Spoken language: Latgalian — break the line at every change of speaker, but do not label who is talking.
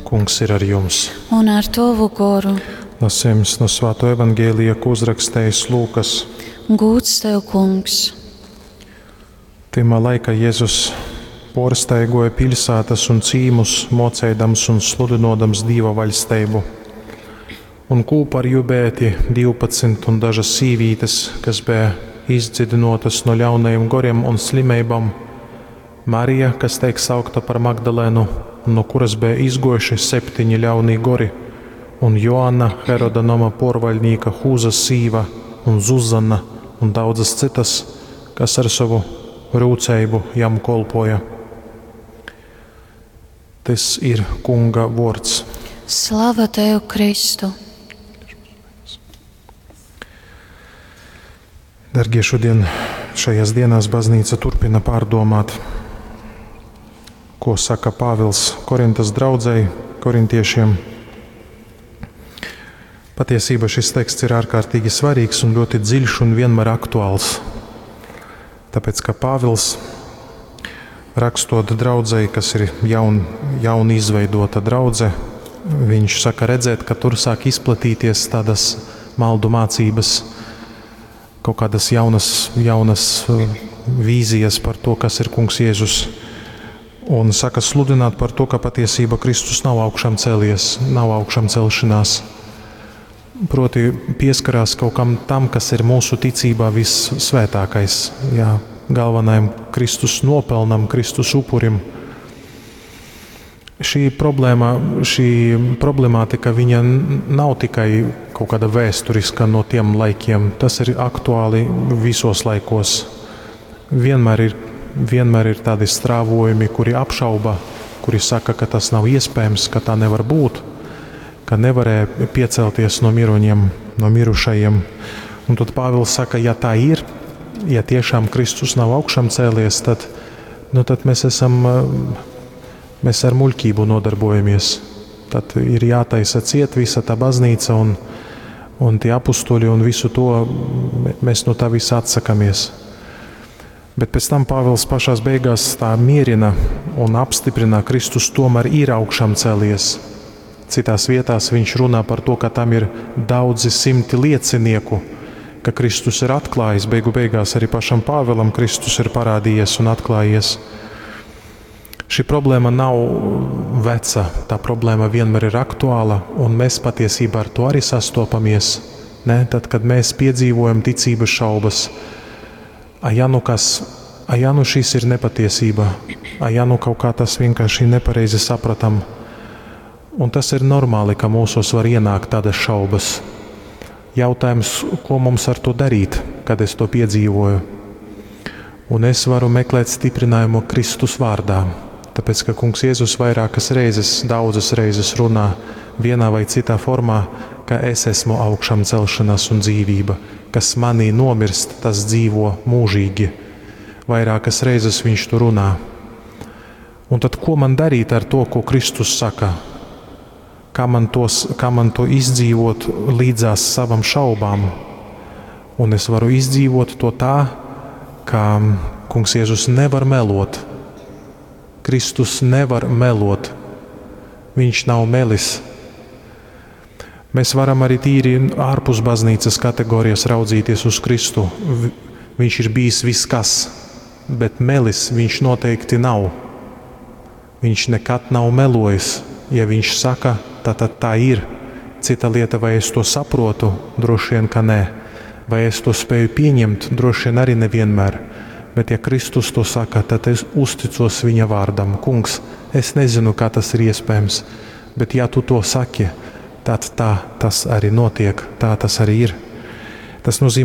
Kungs ir ar jums.
Un ar tovu goru.
Lasījums no Svāto evaņģēlija, ko uzrakstījis Lūkas.
Gūds tev, kungs.
Tymā laikā Jēzus porstaigoja pilsētas un cīmus, mocēdams un sludinodams Dīva vaļsteibu. Un kūpa ar jū beja tie 12 un dažas sīvītes, kas bija izdzidinotas no ļaunajiem goriem un slimībām. Marija, kas teik saukta par Magdalēnu, no kuras bija izgojuši septiņi ļaunie gori, un Joanna, Heroda noma porvaļnīka Hūzas sīva, un Zuzana, un daudzas citas, kas ar savu rūceibu jam kolpoja. Tas ir Kunga vārds.
Slava tev, Kristu!
Dargie, šodien šajās dienās baznīca turpina pārdomāt, ko saka Pāvils Korintas draudzei, korintiešiem. Patiesībā šis teksts ir ārkārtīgi svarīgs un ļoti dziļš un vienmēr aktuāls. Tāpēc, ka Pāvils rakstot draudzei, kas ir jaun, jaun izveidota draudze, viņš saka redzēt, ka tur sāk izplatīties tādas maldu mācības, kaut kādas jaunas, jaunas vīzijas par to, kas ir Kungs Jēzus. Un saka sludināt par to, ka patiesība Kristus nav augšām cēlies, nav augšām celšanās. Proti pieskarās kaut kam tam, kas ir mūsu ticībā vissvētākais, jā, galvenajam Kristus nopelnam, Kristus upurim. Šī problēma, šī problemātika, viņa nav tikai kaut kāda vēsturiska no tiem laikiem. Tas ir aktuāli visos laikos. Vienmēr ir, vienmēr ir tādi strāvojumi, kuri apšauba, kuri saka, ka tas nav iespējams, ka tā nevar būt, ka nevarēja piecelties no miroņiem, no mirušajiem. Un tad Pāvils saka, ja tā ir, ja tiešām Kristus nav augšām cēlies, tad, nu, tad mēs esam, mēs ar muļķību nodarbojamies. Tad ir jātaisa ciet visa tā baznīca un, un tie apustuļi un visu to mēs no tā visa atsakamies. Bet pēc tam Pāvils pašās beigās tā mierina un apstiprina, Kristus tomēr ir augšām cēlies. Citās vietās viņš runā par to, ka tam ir daudzi simti liecinieku, ka Kristus ir atklājis, beigu beigās arī pašam Pāvēlam Kristus ir parādījies un atklājies. Šī problēma nav veca, tā problēma vienmēr ir aktuāla, un mēs patiesībā ar to arī sastopamies. Ne? Tad, kad mēs piedzīvojam ticības šaubas, a ja nu kas, a ja nu šis ir nepatiesība, a ja nu kaut kā tas vienkārši nepareizi sapratam. Un tas ir normāli, ka mūsos var ienākt tādas šaubas. Jautājums, ko mums ar to darīt, kad es to piedzīvoju? Un es varu meklēt stiprinājumu Kristus vārdā, tāpēc, ka Kungs Jēzus vairākas reizes, daudzas reizes runā vienā vai citā formā, ka es esmu augšām celšanās un dzīvība, kas manī nomirst, tas dzīvo mūžīgi. Vairākas reizes viņš to runā. Un tad ko man darīt ar to, ko Kristus saka? Kā man, tos, kā man to izdzīvot līdzās savam šaubām? Un es varu izdzīvot to tā, ka Kungs Jēzus nevar melot. Kristus nevar melot. Viņš nav melis. Mēs varam arī tīri ārpus baznīcas kategorijas raudzīties uz Kristu. Viņš ir bijis viss kas, bet melis viņš noteikti nav. Viņš nekad nav melojis. Ja viņš saka, tad, tad tā ir. Cita lieta, vai es to saprotu, droši vien, ka nē. Vai es to spēju pieņemt, droši vien arī nevienmēr. Bet ja Kristus to saka, tad es uzticos viņa vārdam. Kungs, es nezinu, kā tas ir iespējams, bet ja tu to saki, tad tā tas arī notiek, tā tas arī ir. Tas nozīmē,